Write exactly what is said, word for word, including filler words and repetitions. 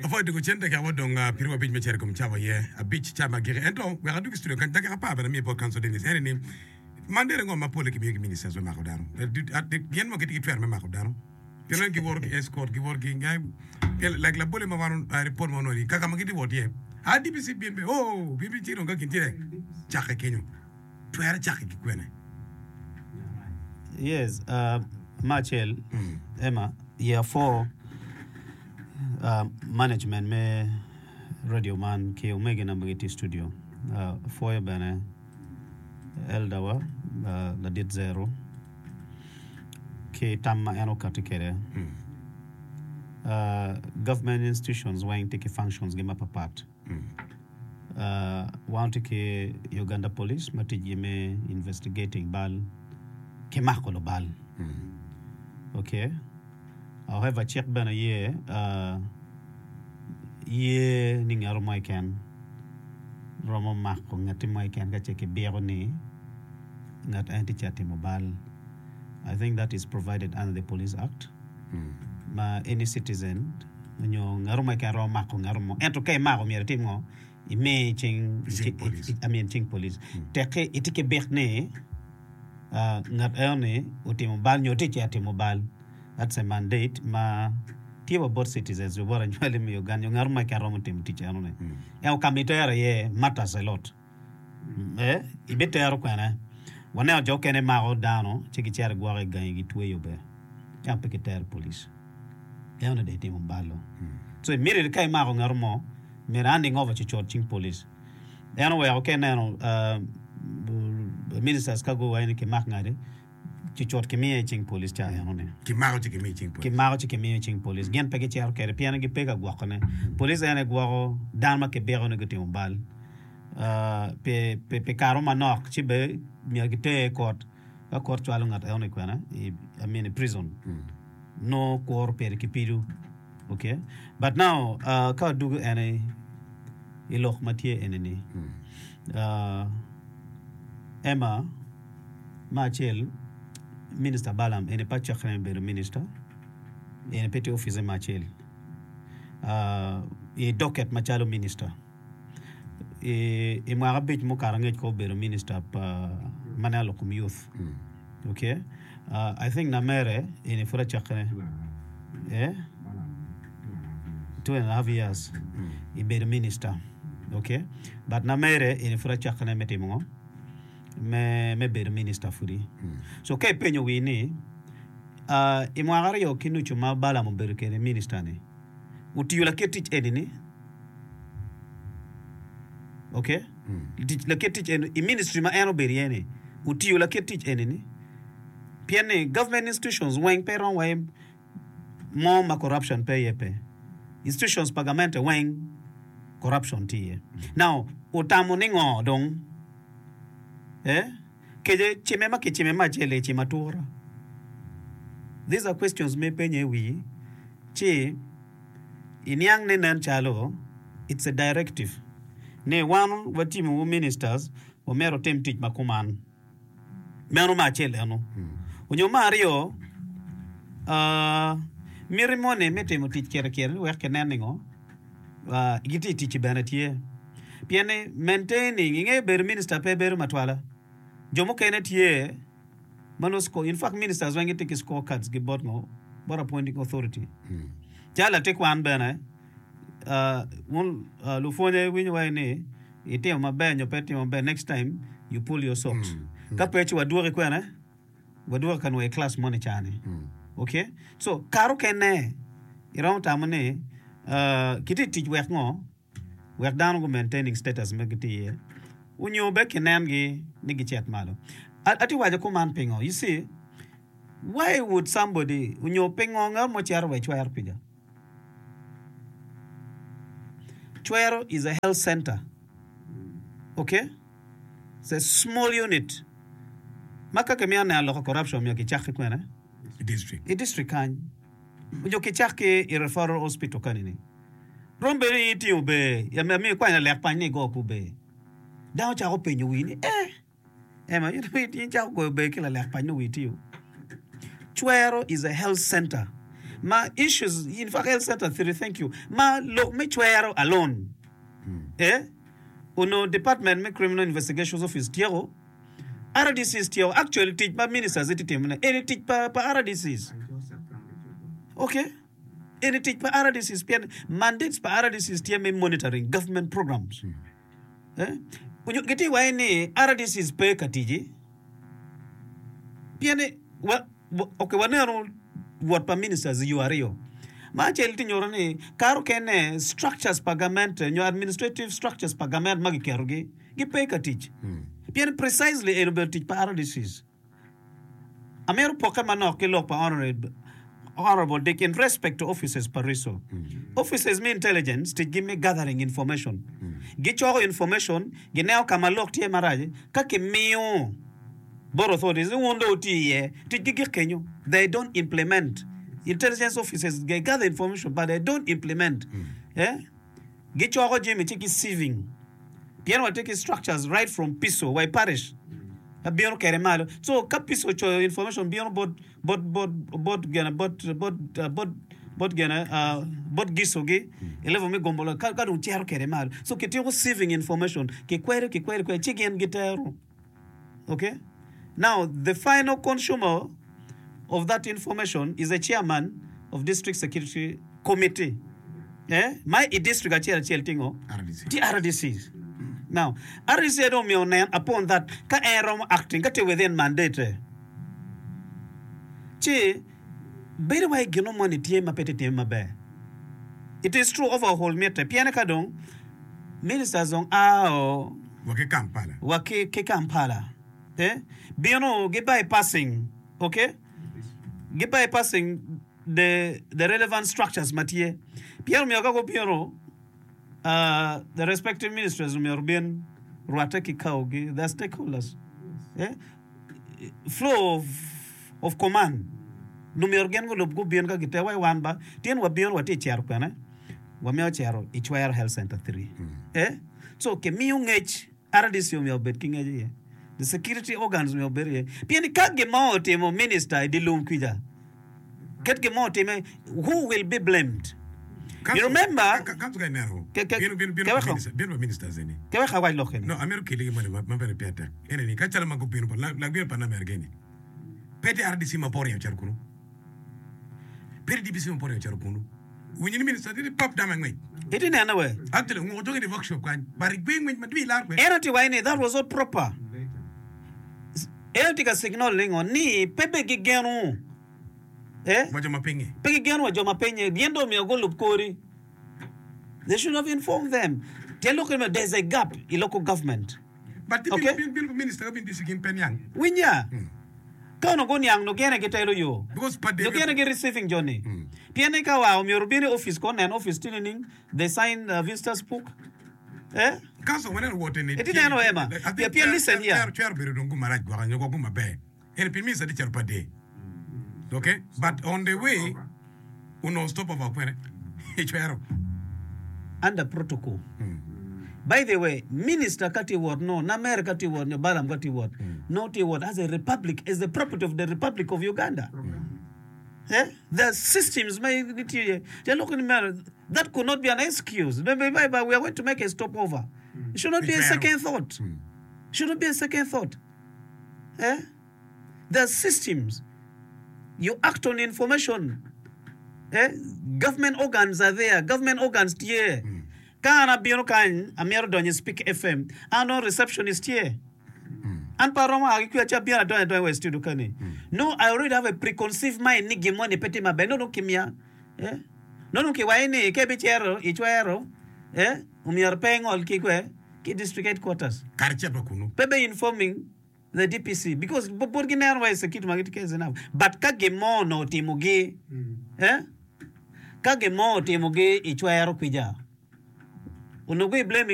Apwoyo dwogo cen dakika ma odong pyeraryo abic me cito i kom cawa aye abic ca ma agiki ento wek adwog i studio kany dakika apar bene amiyo bot Council Dennis ene ni mandate ango ma pole kimiyo ki ministers me mako dano gin mo gitye ki twero me mako dano pien nen giwoto ki escort giwoto ki like labole ma wan report ma wanongo ni kaka ma gitye wot iye a D P C bin be oh bin bin ci dong ka gin tye cakke kenyo twero cakke ki kwene. Yes, uh, me acel Emma, year four uh, management me radio man ki omegina ma gitye i studio uh, pwoyo bene elder wa uh, ladit Zero ki tam ma en okati kwede. Uh, government institutions weng tye ki functions gi mapapat. Uh, wan tye ki Uganda Police ma ticgi me investigating bal ki mako lubal. Okay. However, cik bene ye uh, ye ni ngat mo keken romo mako ngati mo keken ka ce kibiko ni ngat en tye ca timo bal. I think that is provided under the Police Act. Ma any citizen nyo ngat mo keken romo mako ngat mo ento ka imako myero itim ngo imi cing Cing police. I mean cing police. Tekki itye ki bik ni uh, ngat eno ni otimo bal nyo tye ca timo bal. That's a mandate ma tye wa bot citizens wa bot anywali me Uganda nyo ngat mo keken romo timo tic eno ni. Ento ka ma itero iye matters a lot. Eh, ibitero kwene waneno jo okene mako dano ci gicito gwoke i gangi gitweyo be ento pe gitero police eno ni dong itimo balo so immediately ka imako ngat mo myero handing over cucut cing police en oweko ka ineno uh, ministers ka guwaco ni kimak ngati cucut kimiye i cing police ca eno ni Kimako ci kimiyo cing police. Kimako ci kimiyo i cing police gin pe gicito kwede pien gipe ka gwokone police en aye gwoko dano ma kibiko ni gutimo bal uh, pi, pi, pi kare manok ci be myero giter i court ka court cwalo ngat eno ni kwene i, I mean i prison no kuro pire ki pido. Okay, but now uh, ka wadugo ene i lok ma tye ene ni uh, Emma ma acel Minister Balaam ene pa cakke me bedo minister ene pe tye office ma acel uh, i docket macalo minister i, i mwaka abic mukato angec ko obedo minister pa ma neno lok kom youth. Okay, uh, I think namere ene pud acakkene eh? two and a half years i bedo minister. Okay, but namere ene pud acakkene me timo ngo me, me bedo minister pudi. So ka ipenyo wi ni uh, i mwaka aryo ki nucu ma Balaam obedo kede minister ni otiyo lakit tic eni ni okay tic lakit tic eni i ministry ma en obedo iye ni otiyo lakit tic eni ni pien ni government institutions weng pe romo wayi mo ma corruption pe iye pe institutions pa gamente weng corruption tye iye. Now otamo ni ngo dong eh kece cime ma kicime ma acel i cimo atura. These are questions ma ipenyo i wi ci iniang ni nen calo it's a directive ni wan watimowu ministers wamyero wutim tic ma kuman. Meno me acel eno. Onyo me aryo, uh, miti moni me timo tic kirikiri wek kinen ni ngo uh, gitye i ticci bene tye. Pien ni maintaining, ingeyo bedo minister pe bedo matwala. Jo mukene tye ma nongo score, in fact ministers weng gitye ki score cards gi bot ngo, bot appointing authority. Calo latin kwan bene, uh, wun uh, lupwonye winyo waci ni itimo maber nyo pe itimo maber, next time you pull your socks. Ka pe ci wadwoki kwene, wadwoki ka nwoyo i class moni cani. Okay? So, kare okene iromo tamo ni uh, kitye i tic wek ngo? Wek dano gu maintaining status ma gitye iye onyo be kinengi ni gicit malo. Atye waco kuman pingo? You see, why would somebody onyo pingo ngat mo cito wa i cwero pica? Cwero is a health center. Okay? It's a small unit. Ma ka kimito neno loko corruption myero kicak ki kwene? I district. I district kany. Onyo kicak ki i referral hospital kani ni. Rom bedo ni itingo ber, amiyo ikwanyo lalek pany ni igo ku ber. Dano cako penyo wii ni, eh, Emma, in icako goyo ber ki lalek pany ni wii tiyo. Cwero is a health center Ma issues in fact health center three thank you ma lok me cwero alone eh onongo department me criminal investigations office tyeko R D Cs tyeko actually tic ma ministers gitye timone eni tic pa pa R D Cs okay eni tic pa R D Cs pien mandates pa R D Cs tye me monitoring government programs eh onyo gitye waci ni R D Cs pe ka tic pien ni wa ok waneno wot pa ministers i yo aryo ma acel tye nyuto ni kare okene structures pa gamente nyo administrative structures pa gament ma giketogi gipe ka tic pien precisely eni obedo tic pa R D Cs. Amito pokke manok ki lok pa Honorable Dick in respect to offices pa RISO. Offices me intelligence ticgi me gathering information. Gicoko information, gineno ka ma lok tye marac, ka kimiyo bot authorities ni wun dong wuti iye, ticgi gik kenyo. They don't implement. Intelligence offices they gather information but they don't implement. Eh? Gicoko jami ci ki sieving. Pien watye ki structures right from P I S O wa i parish ka bino kede malo. So ka P I S O ocoyo information bino bot bot bot bot gene bot bot bot bot gene uh, bot giso gi i level me gombolo ka, ka dong cero kede malo. So kitiko sieving information kikwedo kikwedo kwedo ci gin gitero. Okay? Now the final consumer of that information is the chairman of district security committee. Eh? Ma i district acel acel tingo? R D C. Ti R D Cs. Now, R D C dong omiyo nen upon that ka en romo acting ka tye within mandate. Ci bedo wa i gino moni tye ma pe tye time maber. It is true overhaul mitte pien ka dong ministers dong ao wa ki Kampala. Wa ki, ki Kampala. Eh? Bino gi bypassing, okay? Gi bypassing the, the relevant structures ma tye. Pien omiyo ka gubino uh, the respective ministries omyero bin rwatte ki kaogi, the stakeholders. Eh? Flow of, of command. Omyero gin gulub gubin ka gite wa i wan ba. Tyen wabino watye i cero kwene. Wamiyo cero i Cwero Health Center three. Eh? So kimiyo ngec R D C omyero obed ki ngec iye. The security organs omyero obed iye. Pien ka gin mo otimo minister i di lum kwica, ket gin mo otime, who will be blamed? You remember, Kanso ka ineno. Ke- ke- Bino bino bino ke pa weko. minister, bino pa ministers eni. Ke weko awac lok eni. No, amito keli gi moni ma ma bene pire tek. Ene ni ka calo ma gubino pa lak bino pa Namerga eni. Pe tye R D C ma poro ocito kunu. Pe tye D P C ma poro ocito kunu. Winyo ni minister tye ni pap dama ngwec. Iti nene we. Actually, nguko jogi di workshop kany. But igwe ngwec ma dwi lar kwe. En ati waci ni that was not proper. En ati ka signal ni ngo ni pe be gigeno. Eh? Wa jo ma pinyi. Pe gigeno wa jo ma pinyi. Gin dong omyero gulub kori. They should have informed them. Tyen lok ni there's a gap i local government. But ti Okay. bin bin bin minister ka bin disi gin pen yang. Winya. Ka onongo guniang no gene gitelo yo. Because pa No gene gi receiving Johnny. Pien ni ka wa omyero bin i office ko nen office tye nining they sign uh, visitors book. Eh? Council waneno wote ni. Iti neno ema. I think Pien listen here. Chwero chwero bedo dong gumarac gwaka nyo gwaka maber. Ene pin minister di cero pa day. Okay? But on the way, uno stop over kwene. Chwero. Under protocol. By the way, minister ka tye wot no, Namer ka tye wot nyo Balam ka tye wot, no tye wot as a republic, as the property of the Republic of Uganda. Eh? The systems may nitye. They look in the mirror. That could not be an excuse. Maybe, maybe we are going to make a stopover. It should not be a second thought. Should not be a second thought. Eh? There are systems. You act on information. Eh? Government organs are there. Government organs tye. Ka an abino kany, amyero donyo i Speak F M. An dong receptionist tye. An pa romo a ki kwica ci abino adonyo adonya wa i studio kani. No, I already have a preconceived mind ni gin moni pe tye maber. No, dong kimiya. Eh? No, dong kiwaco ni ka ibicero icwero, eh? Omyero pe ingol ki kwe ki district headquarters. Kare cito kunu. Pe be informing the D P C because bot gineno wa i security ma gitye is enough. But ka gin mo onongo otimogi, eh? Ka gin mo otimogi icwero kwica, onongo i blaming